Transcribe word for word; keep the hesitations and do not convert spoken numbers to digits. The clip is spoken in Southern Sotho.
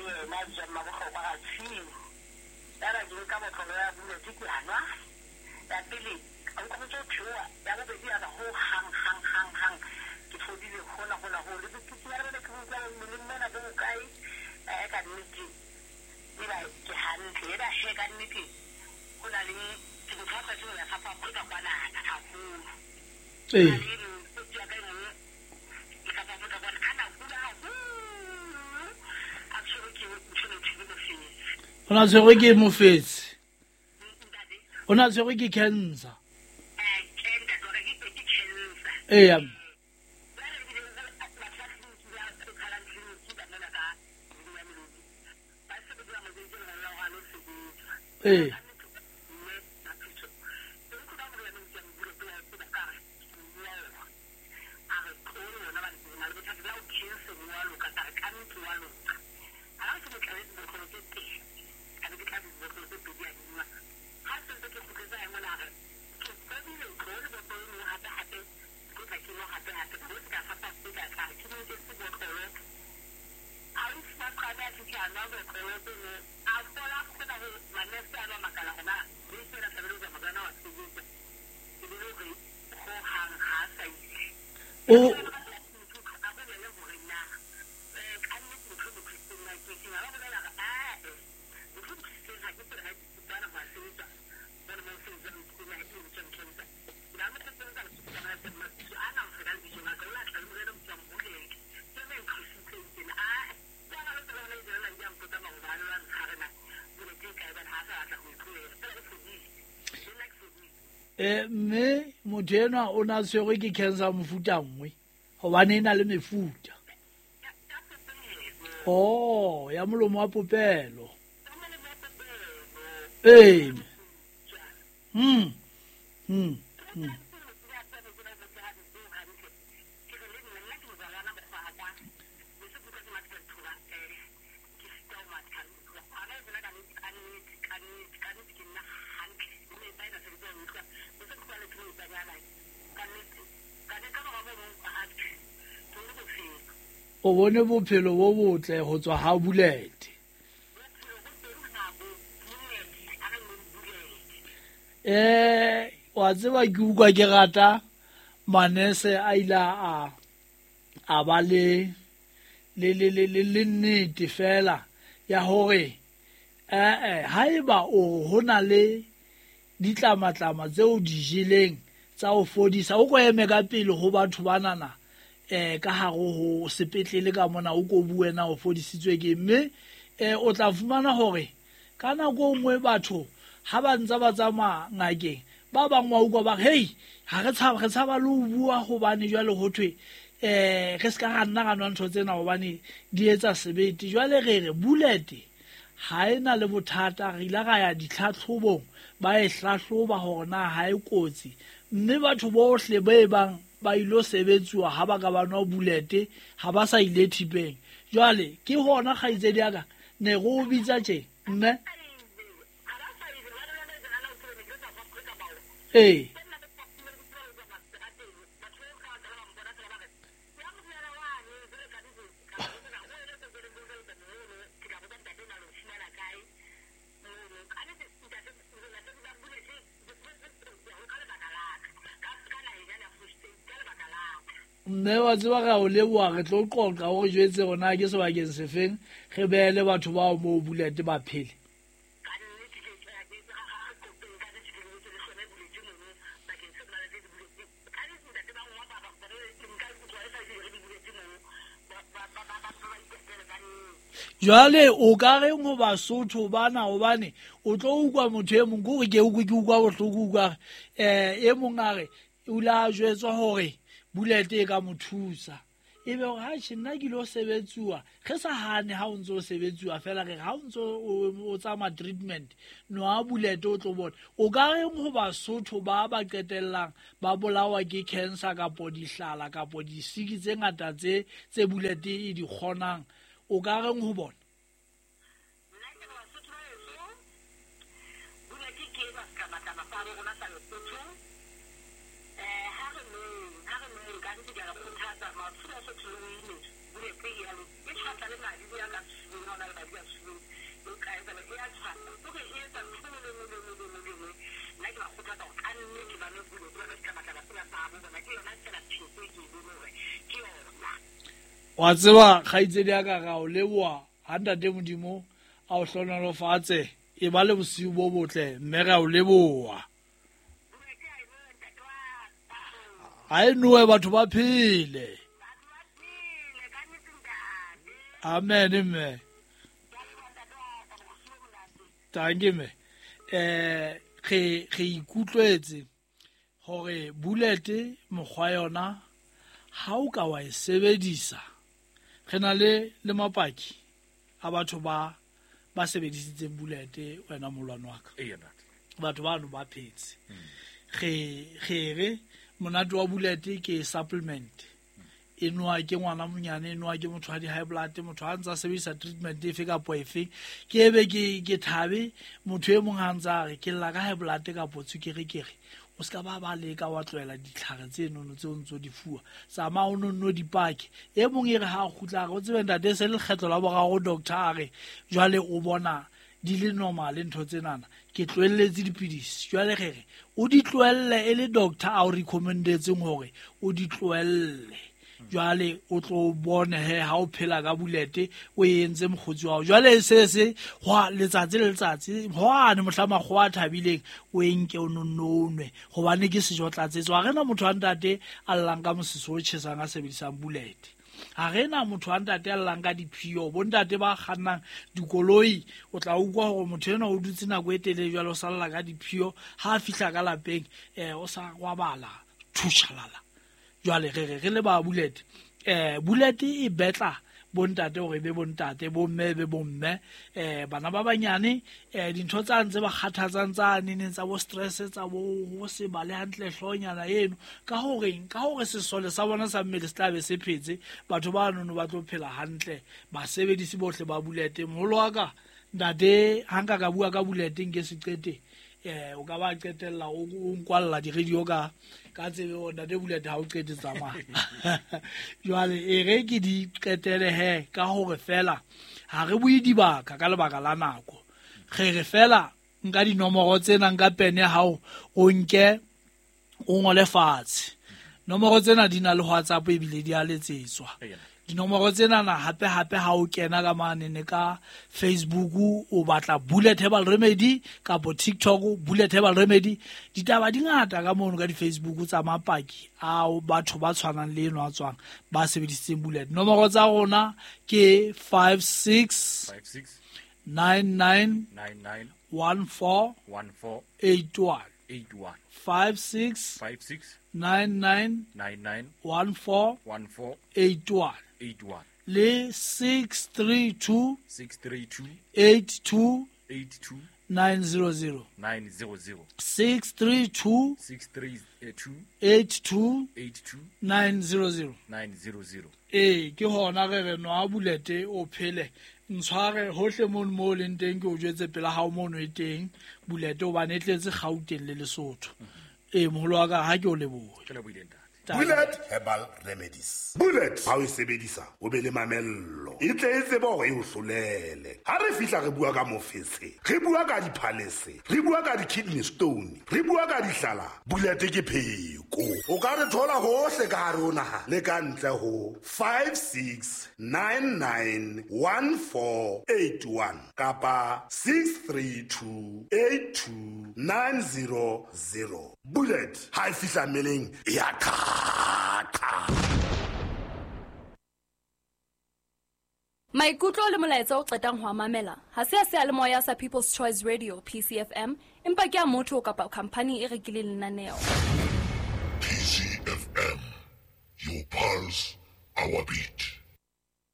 yena ja mmabohlokwa ga tshimo. Ya ba ke nka botlolo ya bulete ke a nwa. Ya pele a nka botsa theoha, ya bobedi ya ba ho hang hang hang hang. Ke fodile hona hona ho le botutu ya bone ke utlwa mmeleng mona bo bokae eh ka nnete. E ba ke hantle, e ba he ka nnete. Ho na le ke motho a tlwaetseng ho ya South Africa kwanana haholo. Ee. O na tshwerwe ke mofetse. O na tshwerwe ke cancer. Ee. Ee. O eh mme motho enwa o na tshwerwe ke cancer mofuta nngwe hobane e na le mefuta. Oh, ya molomo wa popelo. Ee. Mm. Mm. Mm. O bone bophelo bo botle ho tswa ha bulete. Eh, wa tseba ke utlwa ke rata manese a ile a a ba le le le le le nnete fela ya hore eh eh haeba o hona le ditlamatlama tseo di jeleng tsa ho fodisa o ko eme ka pele ho batho banana eh ka hare ho sepetlele ka mona o ko bue na o fodisitswe ke mme eh o tla fumana hore ka nako nngwe batho ha ba ntse ba tsamaya ngakeng ba bang wa utlwa ba hey ha re tshaba re tshaba le ho bua hobane jwale ho thwe eh re ska ra nna ra nwa ntho tsena hobane di etsa sebete. Jwale re re bulete ha ena le bothata re ile ra ya ditlhatlhobong ba e hlahloba hore na ha e kotsi mme batho bohle ba e bang ba ilo sebetsuwa ha ba ka ba nwa bulete ha ba sa ile thipeng. Jwale ke hona kgaitsedi ya ka ne go bitsa tje mme ee mme wa tseba ra o leboha re tlo qoqa o re jwetse rona ke sebakeng sefeng re beele batho bao moo bulete ba phele. Jwale o ka reng ho Basotho bana hobane o tlo utlwa motho e mong kore ke utlwe ke utlwa bohloko utlwa eh e mong a re o la jwetswa hore bulete e ka mo thusa ebe hore ha tjhe nna ke lo sebetsuwa re sa hane ha o ntso o sebetsuwa fela re ha o ntso o tsamaya treatment no a bulete o tlo bona. O ka reng ho Basotho ba ba qetellang ba bolawa ke cancer kapo dihlala kapo disiki tse ngata tse tse bulete e di kgonang o ka reng ho bona? Nna ke re Basotho ba heso bulete ke ba setlamatlama sa rona sa Lesotho. Eh ha re nweng ha re nweng ka nnete ke a le kgothatsa matsholo a Sotho le wine bulete e ya e tjhatla le madi ya ka tshimong ha o na le madi Wa tseba kgaitsedi ya ka ga o leboha ha ntate Modimo a o hlohonolofatse e ba le bosiu bo botle mme re a o leboha. Ha e nowe batho ba phele. Amen mme. Tanke mme. Eh re re ikutlwetse hore bullet mokgwa yona ha o ka wa e sebedisa re na le le mapaki a batho ba ba sebedisitseng bullet wena molwane wa ka. Batho bano ba phetse. Re re re monate wa bullet ke supplement. E nwa ke ngwana monyane, e nwa ke motho wa di-high blood, motho ha ntsa sebedisa treatment efe kapa efe. Ke ebe ke ke thabe motho e mong ha ntsa re ke lla ka high blood kapo tswekere kere. O ska ba ba leka wa tlohela ditlhare tse nono tse o ntso di fuwa. Tsamaya o nonno dipake. E mong e re ha kgutla re o tsebe ntate se le lekgetlo la boraro doctor a re jwale o bona di le normal ntho tsenana ke tlohelletse dipidisi. Jwale re re o di tlohelle e le doctor a o recommendetseng hore o di tlohelle. Jwale o tlo bone he ha o phela ka bulete o entse mokgotsi wa hao. Jwale se se hwa letsatsi le letsatsi hwane mohla makgowa a thabileng o enke o nonnonwe hobane ke sejo tlatsetso. Ha rena motho wa ntate a llang ka mosese o tjhesang a sebedisang bulete. Ha rena motho wa ntate a llang ka diphio. Bontate ba kgannang dikoloi o tla utlwa hore motho enwa o dutse nako e telele jwale o salla ka diphio. Ha a fihla ka lapeng eh o sa kwabala thushalala. Jwale re re re le ba bullet eh bullet e betla bontate hore be bontate bomme be bomme eh bana ba banyane eh dintho tsa ntse ba kgathatsang tsa neneng tsa bo stress tsa bo ho se bale hantle hlonyana eno ka horeng ka hore sesole sa bona sa mmele se tla be se phetse batho ba nono ba tlo phela hantle basebedisi bohle ba bullet. Moholo wa ka ntate ha nka ka bua ka bullet nke se qete eh o ka ba qetella o nkwalla di radio ka ka tsebe o ntate bullet ha o qete tsamaya. Jwale e re ke di qetele he ka hore fela ha re bue dibaka ka lebaka la nako. Re re fela nka dinomoro tsena nka pene hao o nke o ngole fatshe. Nomoro tsena di na le WhatsApp ebile di a letsetswa. Dinomoro tsena na hape hape ha o kena ka mane ne ka Facebook o batla Bullet Herbal Remedy kapo TikTok Bullet Herbal Remedy. Ditaba di ngata ka mono ka di Facebook tsa mapaki ao batho ba tshwanang le eno a tswang ba sebedisitseng bullet. Nomoro tsa rona ke five six nine nine one four eight one five six nine nine one four eight one le six three two eight two nine zero zero six three two eight two nine zero zero. Eh ke hona re re nwa bullet o phele ntshware hohle mono mo leng teng ke o jwetse pela hao mono e teng bullet o bane tletse Gauteng le Lesotho. Eh moholo wa ka ha ke o lebohe. Ke lebohile ntate. Bullet Herbal Remedies. Bullet ha o e sebedisa o be le mamello. E tle e tsebe hore e o hlolele. Ha re fihla re bua ka mofetshe, re bua ka diphalese, re bua ka di-kidney stone, re bua ka dihlala. Bullet ke pheko. O ka re thola hohle ka hare ho naha le ka ntle ho five six nine nine one four eight one kapa six three two eight two nine zero zero. Bullet ha e fihla mmeleng e a qha. Maikutlo le molaetsa o qetang ho mamela ha se a seyalemoya sa People's Choice Radio P C F M empa ke a motho kapa company e rekileng lenaneo. P C F M, your pulse, our beat.